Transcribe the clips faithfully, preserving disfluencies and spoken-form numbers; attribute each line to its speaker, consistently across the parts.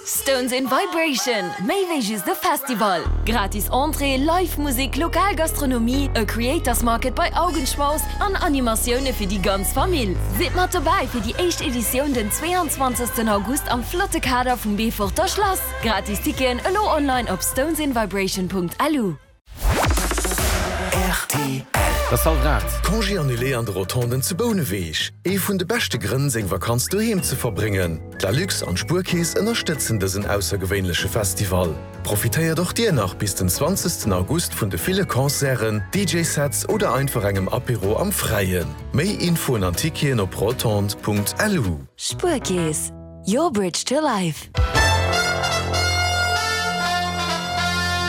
Speaker 1: Stones in Vibration, méi wéi just e Festival. Gratis Entrée, Live-Musek, lokal Gastronomie, e Creators Market bei Augenschmaus an Animatioune fir déi ganz Famill. Sidd mat dobäi fir déi éischt Editioun den zweeanzwanzegsten August am flotte Kader vum Beeforter Schlass. Gratis Ticketen elo online op stonesinvibration.lu.
Speaker 2: Rtl.
Speaker 3: Dat ass hallwer aacht.
Speaker 2: Congé annulé an de Rotonden zu Bouneweg. Ee vun de beschte Grënn, seng Vakanz doheem ze verbréngen. D'Lalux an d'Spuerkeess ënnerstëtzen dësen aussergewéinleche Festival. Profitéiert och dir nach bis den zwanzegsten August vun de ville Concerten, D J-Sets oder einfach engem Apéro am Fräien. Méi Infoen an Ticketen op rotondes Punkt L U.
Speaker 1: Spuerkeess, your bridge to life.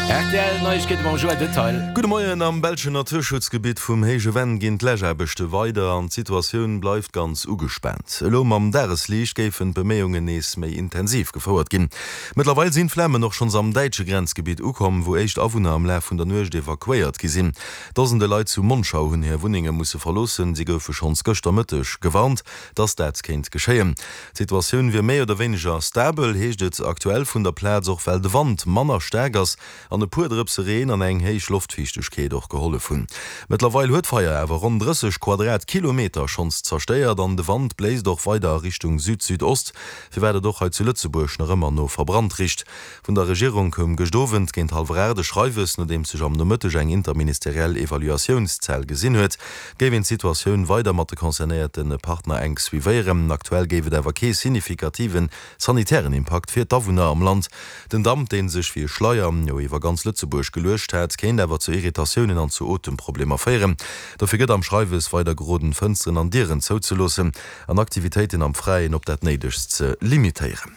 Speaker 3: R T L Neiegkeete mam Joël Detail.
Speaker 4: Gudde Moien, Am belschen Naturschutzgebitt vum Héije Venn ginn d'Läschaarbechte weider an d'Situatioun bleift ganz ugespaant. Elo mam Dagesliicht géifen d'Beméiungen nees méi intensiv gefouert ginn. Mëttlerweil sinn d'Flamen och schonns am däitsche Grenzgebitt ukomm, wou éischt Awunner am Laf vun der Nuecht evakuéiert gi sinn. Dosende Leit zu Monschau hunn hir Wunnenge musse verloossen. Si goufe schonns gëschter Mëtteg gewarnt, dass dat kéint geschéien. D'Situatioun wier méi oder wéineger stabel, heescht et aktuell vun der Plaz, och well de Wand manner staark ass an e puer Drëpse Reen an eng héich Loftfiichtegkeet och gehollef hunn. Mëttlerweil huet d'Feier awer ronn drësseg Quadratkilometer schonns zerstéiert an de Wand bléist och weider a Richtung Süd-Südost, firwat et och hei zu Lëtzebuerg nach ëmmer no verbrannt richt. Vun der Regierung koum gëscht Owend géint hallwer aacht e Schreiwes, nodeems sech am Nomëtteg eng interministeriell Evaluatiounszell gesinn huet, géif een d'Situatioun weider mat de concernéierte Partner enk suivéieren. Aktuell géif et awer kee signifikativen sanitären Impakt fir d'Awunner am Land. Den Damp, dee sech wéi e Schleier jo iwwer ganz Lëtzebuerg geluecht hat, kéint awer zu Irritatiounen an zu Otemproblemer féieren. Dofir gëtt am Schreiwes weider geroden, Fënsteren an Dieren zouzeloossen an Aktivitéiten am Fräien op dat Néidegst ze limitéieren.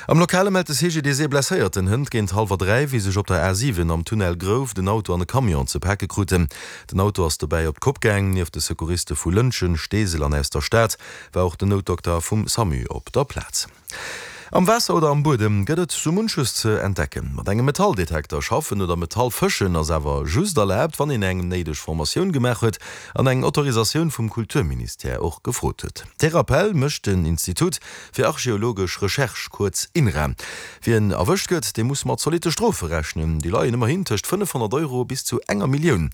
Speaker 4: Am Lokale mellt de C G D S Blesséierten hënt géint hallwer dräi, wéi sech op der A siwen am Tunnel Grouf den Auto an e Camion ze pake kruten. Den Auto ass dobäi op d'Kopp gaang. Nieft de Secouriste vu Lëntgen, Steesel an aus der Stad war och den Noutdokter vum SAMU op der Plaz. Am Waasser oder am Buedem gëtt et sou munches ze entdecken. Mat engem Metalldetekter schaffen oder Metall fëschen ass awer just erlaabt, wann een eng néideg Formatioun gemaach huet an eng Autorisatioun vum Kulturministère och gefrot huet. Dee Rappell mécht den Institut fir archeologesch Recherche, kuerz INRA. Wien erwëscht gëtt, dee muss mat zolitte Strofe rechnen. Déi leien ëmmerhin tëscht fënnefhonnert Euro bis zu enger Millioun.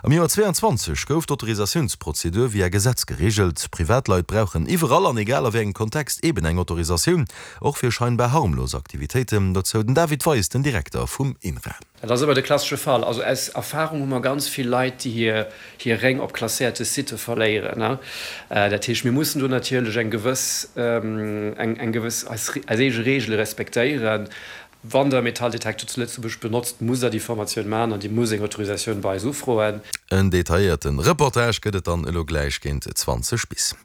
Speaker 4: Am Joer zweeanzwanzeg gouf d'Autorisatiounsprozedur via Gesetz gereegelt. Privatleit brauchen iwwerall an egal a wéi engem Kontext eben eng Autorisatioun, och fir scheinbar harmlos Aktivitéiten. Dozou den David Weis, den Direkter vum INRA.
Speaker 5: Dat ass ëmmer de klassesche Fall. Also aus Erfahrung hu mer ganz vill Leit, déi hir hir Réng op klasséierte Sitte verléieren. Dat heescht, mir mussen do natierlech eng gewëss eng eng gewëss eis eis eege Reegele respektéieren. Wann Der e Metalldetektor zu Lëtzebuerg benotzt, musst Der déi Formatioun maachen an Dir musst eng Autorisatioun bei eis ufroen.
Speaker 4: En detailléierte Reportage gëtt et dann elo gläich géint zwanzeg bis.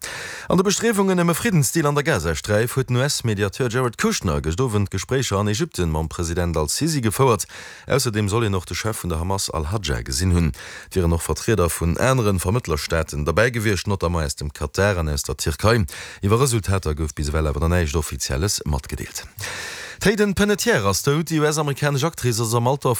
Speaker 4: An de Bestriewungen ëm e Friddensdeal an der Gazasträif huet den U S-Mediateur Jared Kushner gëscht Owend Gespréicher an Ägypten mam President al-Sisi gefouert. Ausserdeem soll hien och de Chef vun der Hamas al-Hajja gesinn hunn. Et wieren och Vertrieder vun anere Vermëttlerstaaten derbäi gewiescht, notamment aus dem Katar an aus der Tierkei. Iwwer Resultater gouf bis ewell awer nach näischt Offizielles matgedeelt. D'Hayden Panettiere ass dout. Déi U S-amerikanesch Actrice ass am Alter